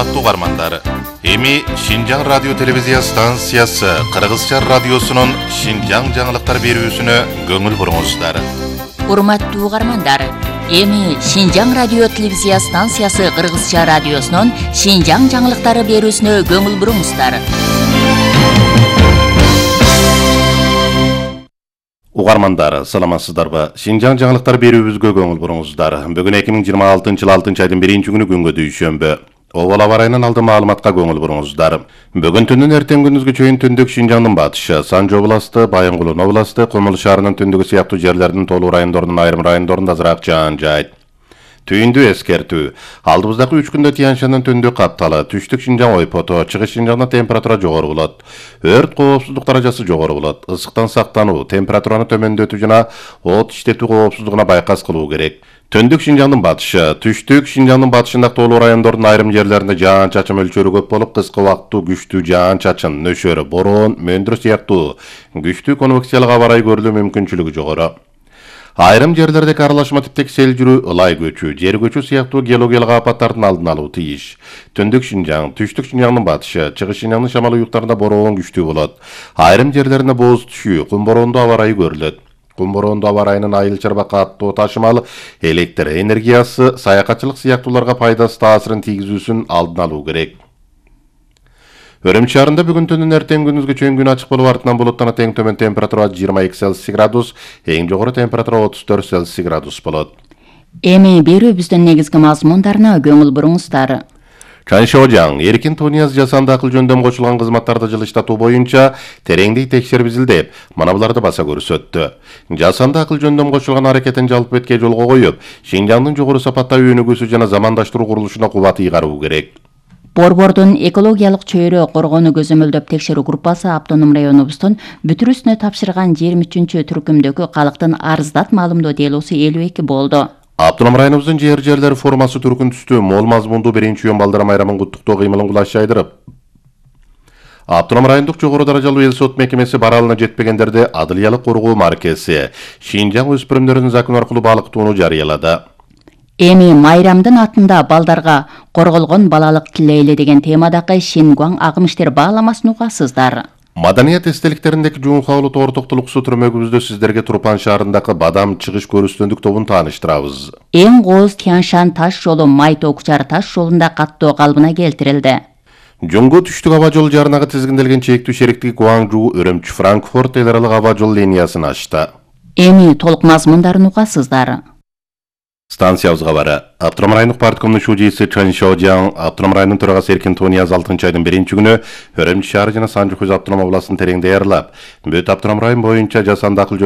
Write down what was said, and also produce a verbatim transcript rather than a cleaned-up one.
Урматтуу угармандар, эми Шинжаң радио телевизия станциясы Кыргызча радиосунун Шинжаң жаңылыктар берүүсүнө көңүл буруңуздар. Урматтуу угармандар, эми Шинжаң радио телевизия станциясы Кыргызча радиосунун Шинжаң жаңылыктары берүүсүнө көңүл буруңуздар. Угармандар, саламатсыздарбы? Шинжаң жаңылыктар берүүбүзгө көңүл буруңуздар. Бүгүн эки миң жыйырма алтынчы жыл алтынчы айдын биринчи күнү күнгө дүйшөмбү. Обол аба ырайынан алды маалыматка көңүл буруңуздар. Бүгүн түндүн эртең күндүзгө чейин түндүк Шинжаңдын батышы, Санжы областы, Байынгулун областы, Кумул шаарынын түндүгү сыяктуу жерлердин толуу райондорунун айрым райондорунда азыраак жаан жаайт. Түйүндү эскертүү. Алдыбыздагы үч күндө Тянь-Шаньдын түндүк капталы, түштүк Шинжаң ойпото, чыгыш Шинжаңда температура жогору болот. Өрт коопсуздук даражасы жогору болот. Ысыктан сактануу, температураны төмөндөтүү жана от иштетүү коопсуздугуна байкас кылуу керек. Түндүк Шинжаңдын батышы, түштүк Шинжаңдын батышындагы толуу райондордун айрым жерлеринде жаан-чачын мөлчөрү көп болуп, кыска убакыттуу күчтүү жаан-чачын, нөшөр, бороон, мөндүр сыяктуу күчтүү конвекциялык аба ырайы көрүлүү мүмкүнчүлүгү жогору. Айрым жерлердеги аралашма типтеги сел жүрүү, ылай көчүү, жер көчүү сыяктуу геологиялык апаттардын алдын алуу тийиш. Түндүк Шинжаң, түштүк Шинжаңдын батышы, чыгыш Шинжаңдын шамал уюктарында бороон күчтүү болот. Айрым жерлерине бооз түшүү, кум бороондуу аба ырайы көрүлөт. Кум бороондуу аба ырайынын айыл чарба каттоо ташымал, электр энергиясы, саякатчылык сыяктууларга пайдасыз таасирин тийгизүүсүн алдын алуу керек. Өрөм шаарында бүгүн түндүн эртең күндүзгө чейин күн ачык болуп, артынан булуттан эң төмөн температура жыйырма эки Цельсий градус, эң жогору температура отуз төрт Цельсий градус болот. Эми берүүбүздүн негизги мазмундарына көңүл буруңуздар. Чаншожаң, эркин Тунияз жасанды акыл жөндөм кошулган кызматтарды жылыштатуу боюнча тереңдей текшерип изилдеп, мына буларды баса көрсөттү. Жасанды акыл жөндөм кошулган аракетин жалпы бетке жолго коюп, Шинжаңдын жогору сапаттагы өнүгүүсү жана замандаштыруу курулушуна кубат ыйгаруу керек. Борбордун экологиялык чөйрө коргоону көзөмөлдөп текшерүү группасы автоном районубуздун бүтүрүүсүнө тапшырган жыйырма үчүнчү түркүмдөгү калктын арыздат маалымдоо делосу элүү эки болду. Автоном районубуздун жер жерлери формасы түркүн түстүү, мол мазмундуу биринчи июнь балдар майрамын куттуктоо кыймылын кулаш жайдырып, Автоном райондук жогору даражалуу эл сот мекемеси баралына жетпегендерди адылиялык коргоо маркеси Шинжаң өспүрүмдөрүнүн закон аркылуу балыктоону жарыялады. Эми майрамдын атында балдарга корголгон балалык тилейли деген темадагы Шингуаң агым иштер бааламасын угасыздар. Маданият эстеликтериндеки Жуунхаулу тоортоктулуксу түрмөгүбүздө сиздерге Турпан шаарындагы Бадам чыгыш көрүстөндүк тобун тааныштырабыз. Эң кооз Тянь-Шань таш жолу Май-Токчар таш жолунда каттоо калыбына келтирилди. Жуңгу түштүк аба жол жаранага тизгинделген чектүү шериктиги Гуаңжу, Өрөмчү, Франкфурт эл аралык аба жол линиясын ачты. Эми толук мазмундарын угасыздар. Станциябызга бары. Автоном райондук парткомдун шужийси Чаншожаң, автоном районунун төрагасы Эркин Тунияз алтынчы айдын биринчи күнү Өрөмчү шаары жана Санжы автоном областын тереңде аярлап, бүт автоном район боюнча жасанды акыл